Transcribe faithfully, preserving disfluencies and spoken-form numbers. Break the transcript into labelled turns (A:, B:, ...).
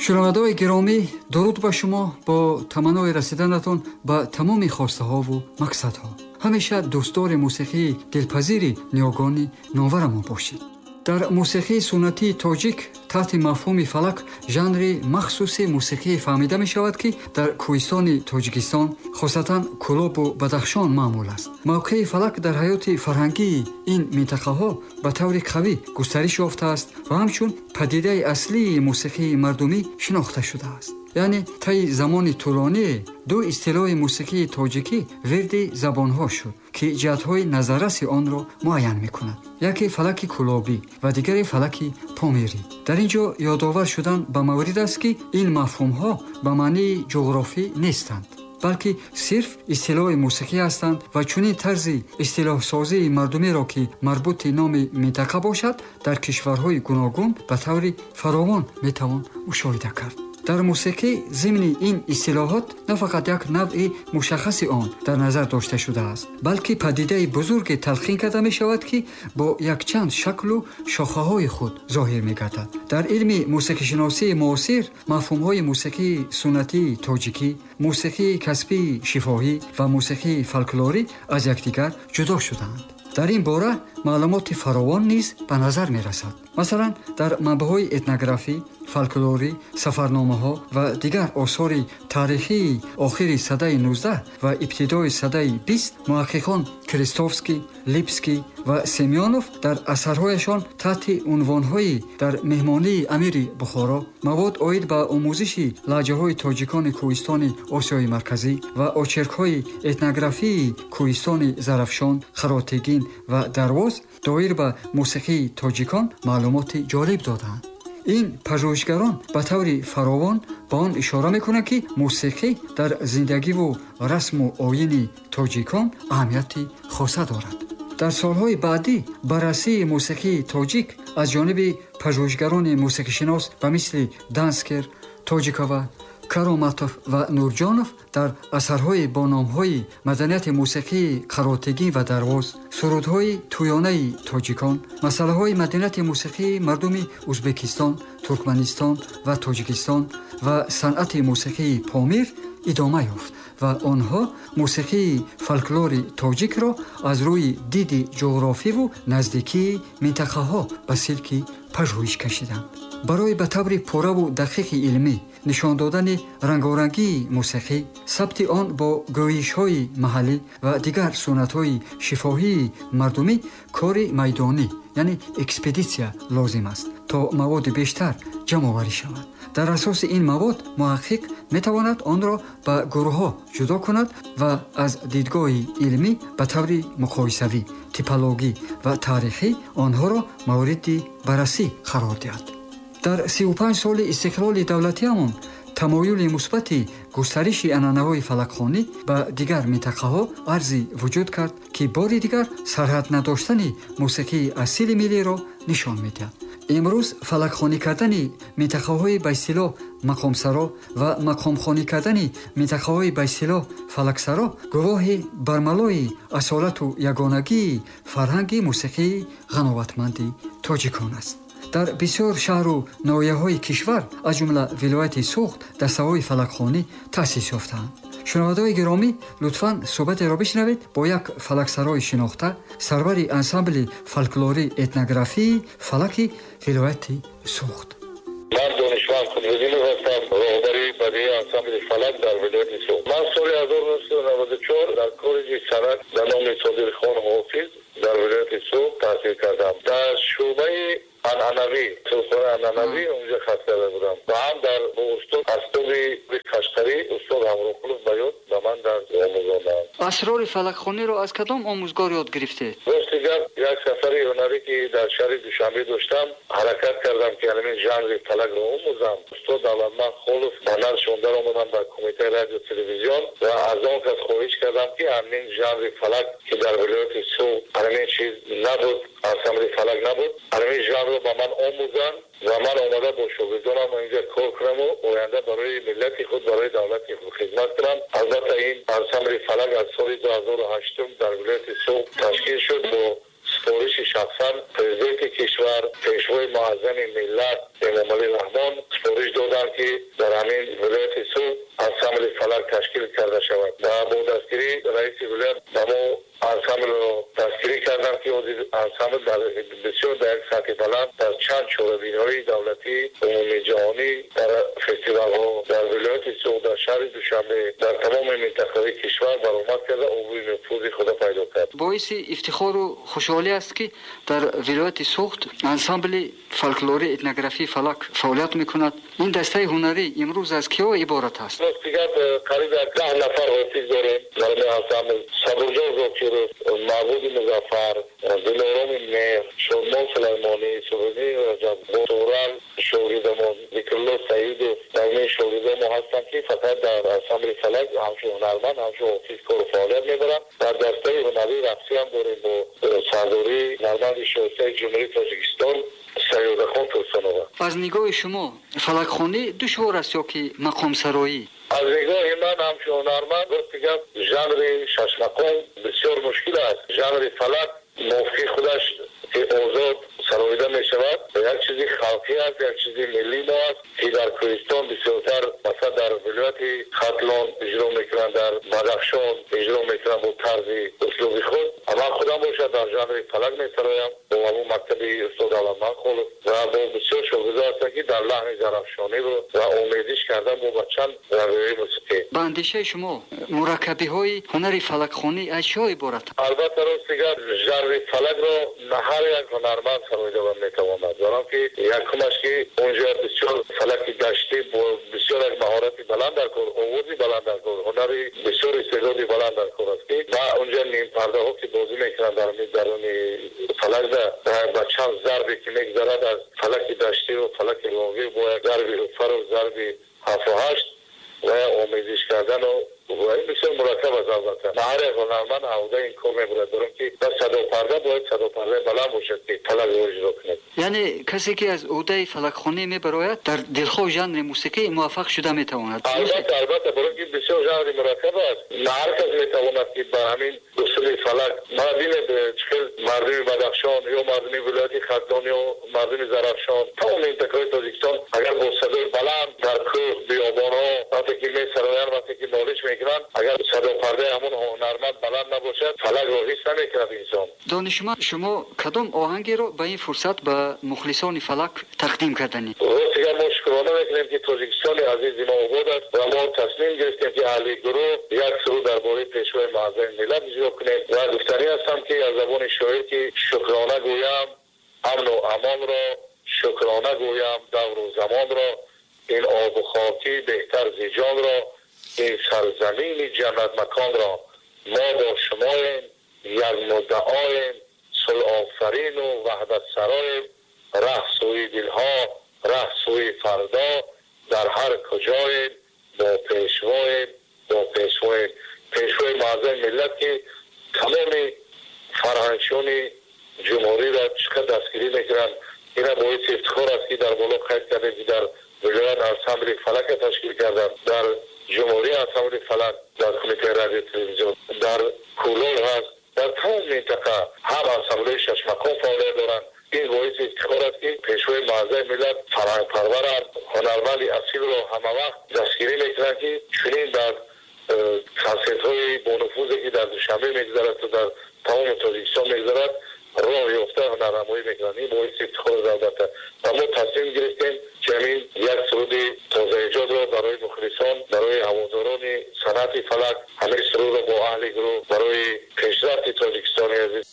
A: Шунавандаҳои гиромӣ, дуруд ба шумо бо таманнои расиданатон ба тамоми хостаҳову мақсадҳо. Ҳамеша дӯстдори мусиқии дилпазири ниёгони номварамон бошед. Дар мусиқии суннатии тоҷик таҳти мафҳуми фалак жанри махсуси мусиқӣ фаҳмида мешавад, ки дар кӯҳистони Тоҷикистон, хосатан Кӯлобу Бадахшон маъмул аст. Мавқеи фалак дар ҳаёти фарҳангии ин минтақаҳо ба таври қавӣ густариш ёфтааст ва ҳамчун падидаи аслии мусиқии мардумӣ шинохта шудааст. Яъне таи замони тӯлоние ду истилоҳи мусиқии тоҷикӣ вирди забонҳо шуд, ки ҷиҳатҳои назарраси онро муайян мекунад. Яке фалаки кӯлобӣ ва дигаре фалаки помирӣ. Дар ин ҷо ёдовар шудан ба маврид аст, ки ин мафҳумҳо ба маънии ҷуғрофӣ нестанд, балки сирф истилоҳи мусиқӣ ҳастанд ва чунин тарзи истилоҳсозии мардумиро, ки марбути номи минтақа бошад, дар кишварҳои гуногун ба таври фаровон метавон мушоҳида кард. Дар мусиқӣ зимни ин истилоҳот на фақат як навъи мушаххаси он дар назар дошта шудааст, балки падидаи бузурге талқин карда мешавад, ки бо якчанд шаклу шохаҳои худ зоҳир мегардад. Дар илми мусиқишиносии муосир мафҳумҳои мусиқии суннатии тоҷикӣ, мусиқии касбии шифоҳӣ ва мусиқии фолклорӣ аз якдигар ҷудо шудаанд. Дар ин бора маълумоти фаровон низ ба назар мерасад. Масалан, дар манбаъҳои этнографӣ, фолклорӣ, сафарномаҳо ва дигар осори таърихии охири садаи нуздаҳ ва ибтидои садаи бист муҳаққиқон Крестовский, Липский ва Семёнов дар асарҳояшон таҳти унвонҳои дар меҳмонии амири Бухоро, мавод оид ба омӯзиши лаҳҷаҳои тоҷикони кӯҳистони Осиёи Марказӣ ва очеркҳои этнографии кӯҳистони Зарафшон, Харатегин ва Дарвоз доир ба мусиқии тоҷикон маълумоти ҷолиб додаанд. Ин пажӯҳишгарон ба таври фаровон ба он ишора мекунанд, ки мусиқӣ дар зиндагиву расму оини тоҷикон аҳамияти хоса дорад. Дар солҳои баъдӣ баррасии мусиқии тоҷик аз ҷониби пажӯҳишгарони мусиқишинос ба мисли Данскер, Тоҷикова, Кароматов ва Нурҷонов дар асарҳои бо номҳои маданияти мусиқии Қаротегин ва Дарвоз, сурудҳои тӯёнаи тоҷикон, масъалаҳои маданияти мусиқии мардуми Ӯзбекистон, Туркманистон ва Тоҷикистон ва санъати мусиқии Помир идома ёфт ва онҳо мусиқии фолклори тоҷикро аз рӯи диди ҷуғрофиву наздикии минтақаҳо ба силки пажӯҳиш кашиданд. Барои ба таври пурраву дақиқи илмӣ нишон додани рангорангии мусиқӣ, сабти он бо гӯйишҳои маҳаллӣ ва дигар суннатҳои шифоҳии мардумӣ кори майдонӣ, яъне экспедитсия лозим аст, то маводи бештар ҷамъоварӣ шавад. Дар асоси ин мавод муҳаққиқ метавонад онро ба гурӯҳҳо ҷудо кунад ва аз дидгоҳи илмӣ ба таври муқоисавӣ, типологӣ ва таърихӣ онҳоро мавриди баррасӣ қарор диҳад. Дар сию панҷ соли истиқлоли давлатиамон тамоюли мусбати густариши анъанаҳои фалакхонӣ ба дигар минтақаҳо арзи вуҷуд кард, ки бори дигар сарҳад надоштани мусиқии асили миллиро нишон медиҳад. Имрӯз фалакхонӣ кардани минтақаҳои ба истилоҳ мақомсаро ва мақомхонӣ кардани минтақаҳои ба истилоҳ фалаксаро гувоҳи бармалои асолату ягонагии фарҳанги мусиқии ғановатманди тоҷикон аст. Дар бисёр шаҳру ноҳияҳои кишвар, аз ҷумла вилояти Суғд, дастаҳои фалакхонӣ таъсис ёфтаанд. Шунавандаҳои гиромӣ, лутфан суҳбатеро бишнавед бо як фалаксарои шинохта, сарвари ансамбли фолклорӣ этнографии фалаки вилояти Суғд.
B: Ман Донишманд Қудратдинов ҳастам, роҳбари бадеи ансамбли фалак дар вилояти Суғд. Ман соли ҳазору нӯҳсаду наваду чор дар коллеҷи санъат ба номи Содирхон Ҳофиз дар вилояти Суғд таҳсил кардам. Дар шӯъбаи анъанавӣ, сурудхонаи анъанавӣ онҷо хат карда будам ва ҳам дар бо устод асбоби Қашқарӣ устод Ҳамроқулов Баёт ба ман дарс омӯзонданд.
A: Асрори фалакхониро аз кадом омӯзгор ёд гирифтед?
B: Рости гап, як сафари ҳунарӣ ки дар шаҳри Душанбе доштам, ҳаракат кардам ки ҳамин жанри фалакро омӯзам. Устод Давлатманд Холов ба наздшон даромадам ба кумитаи радио телевизион ва аз он кас хоҳиш кардам, ки ҳамин жанри фалак, ки дар вилояти Суғд ҳамин чиз набуд, ансамбли фалак набуд, ҳамин жанрро ба ман омӯзанд ва ман омада бо шогирдонам инҷа кор кунам ва оянда барои миллати худ, барои давлати худ хидмат кунам. Албатта ин ансамбли фалак аз соли ду ҳазору ҳаштум дар вилояти Суғд ташкил шуд бо супориши шахсан президенти кишвар, пешвои муаззами миллат Эмомалӣ Раҳмон супориш доданд. карданд, ки дар ҳамин вилояти Суғд ансамбли фалак ташкил карда шавад ва бо дастгирии раиси вилоят ба мо ансамблро дастгирӣ карданд, ки ҳозир ансамбл дар бисёр дар як сатҳи баланд дар чанд чорабиниҳои давлатӣ, умумии ҷаҳонӣ, дар фестивалҳо дар вилояти Суғд, дар шаҳри Душанбе, дар тамоми минтақаҳои кишвар баромад карда, обрӯи нуфузи худро пайдо кард.
A: Боиси ифтихору хушҳолӣ аст, ки дар вилояти Суғд ансамбли фолклории этнографии фалак фаъолият мекунад. Ин дастаи ҳунарӣ имрӯз аз киҳо иборат аст?
B: Ростигап, қариб як даҳ нафар ҳофиз дорем дар ин ансамбл: Сабурҷон Зокиров, Маъбуди Музаффар, Дилороми Меҳр, Шодмон Сулаймонӣ, Суҳайни Раҷаб, Турал шогирдамон, Зикрулло Саидов. Дар ин шогирдомо ҳастанд, ки фақат дар ансамбли фалак ҳамчун ҳунарманд, ҳамчун ҳофиз кору фаъолият мебаранд. Дар дастаи ҳунарии рақсӣ ҳам дорем бо сардории ҳунарманди шоистаи Ҷумҳурии Тоҷикистон Саёдахон Турсунова.
A: Аз нигоҳи шумо фалакхонӣ душвор аст ё ки мақомсароӣ?
B: Аз нигоҳи ман ҳамчун ҳунарманд, рости гап, жанри шашмақом бисёр мушкил аст. Жанри фалак мувофиқи худаш, ки озод сароида мешавад, як чизи халқӣ аст, як чизи миллии мо аст, ки дар кӯҳистон бисёртар, масалан, дар вилояти Хатлон иҷро мекунанд, дар Бадахшон иҷро мекунанд бо тарзи услуби худ. Ман худам бошад дар жанри фалак месароям бо ҳамон мактаби устод Алламан Холов ва бо бисёр шогирдо ҳастанд, ки дар лаҳни зарафшонӣ ва омезиш кардан бо ба чанд равияи мусиқӣ.
A: Ба андешаи шумо, мураккабиҳои ҳунари фалакхонӣ аз чиҳо иборат?
B: Албатта, рости гап, жанри фалакро на ҳар як ҳунарманд сароида метавонад. Баром ки якумаш, ки онҷо бисёр фалаки даштӣ бо бисёр як маҳорати баланд дар кор, овози баланд дар кор, ҳунари бисёр, истеъдоди баланд дар кор аст, ки ва онҷо нимпардаҳо, ки бозӣ мекунанд дар даруни фалакда, ба чанд зарбе ки мегузарад аз фалаки даштиву фалаки лонгӣ бо як зарби уфару зарби ҳафту ҳашт ва омезиш кардану ва ин бисёр мураккаб аст. Албатта, на ҳар як ҳунарманд ҳавда ин кор мебурад, дорам ки ба садопарда бояд садопардаи баланд бошад, ки фалакро иҷро кунад.
A: Яъне касе ки аз ӯҳдаи фалакхонӣ мебарояд, дар дилхоҳ жанри мусиқӣ муваффақ шуда метавонад?
B: Албатта, албатта, барои ки бисёр жанри мураккаб аст, на ҳар кас метавонад, ки ба ҳамин усули фалак. Ма бинед, чӣ хел мардуми Бадахшон ё мардуми вилояти Хатлон ё мардуми Зарафшон, тамоми минтақаҳои Тоҷикистон, агар бо садои баланд дар кӯҳ, биёбонҳо вақте ки месароянд, вақте ки нолиш мекунанд, агар садопардаи ҳамон ҳунарманд баланд набошад, фалакро ҳис намекунад инсон.
A: Донишманд, шумо кадом оҳангеро ба ин фурсат ба мухлисони фалак тақдим карданед?
B: Ростигар, мо шукрона мекунем, ки Тоҷикистони азизи мо обод аст ва мо тасмим гирифтем, ки аҳли гурӯҳ як суруд дар бораи Пешвои муаззами миллат иҷро кунем ва гуфтанӣ ҳастам, ки аз забони шоир, ки шукрона гӯям амну амонро, шукрона гӯям давру замонро, ин обу хокӣ беҳтар зи ҷонро, ин сарзамини ҷаннатмаконро. Мо бо шумоем, як муддаоем, сулҳофарину ваҳдатсароем, раҳ сӯи дилҳо, раҳ сӯи фардо, дар ҳар куҷоем бо пешвоем, бо пешвоем. Пешвои муаззами миллат, ки тамоми фарҳангчиёни ҷумҳуриро чӣ қадр дастгирӣ мекунанд, ина боиси ифтихор аст, ки дар боло қайд кардем, ки дар вилоят ансамбли фалака ташкил карданд, дар ҷумҳурӣ ансамбли фалак дар кумитаи радио телевизион, дар Кӯлол ҳаст, дар тамоми минтақа ҳам ансамблҳои шашмақом фаъолият доранд. Ин боиси ифтихор аст, ки Пешвои муаззами миллат фарҳангпарваранд, ҳунарманди асилро ҳамавақт дастгирӣ мекунанд, ки чунин дар консертҳои бонуфузе, ки дар Душанбе мегузарад ва дар тамоми Тоҷикистон мегузарад, роҳ ёфта ҳунарнамоӣ мекунанд. Ин боиси ифтихор аст, албатта. Ва мо тасмим гирифтем, ки ҳамин як суруди тозаэҷодро барои мухлисон, барои ҳаводорони санъати фалак, ҳамин сурудро бо аҳли гурӯҳ барои пешрафти Тоҷикистони азиз.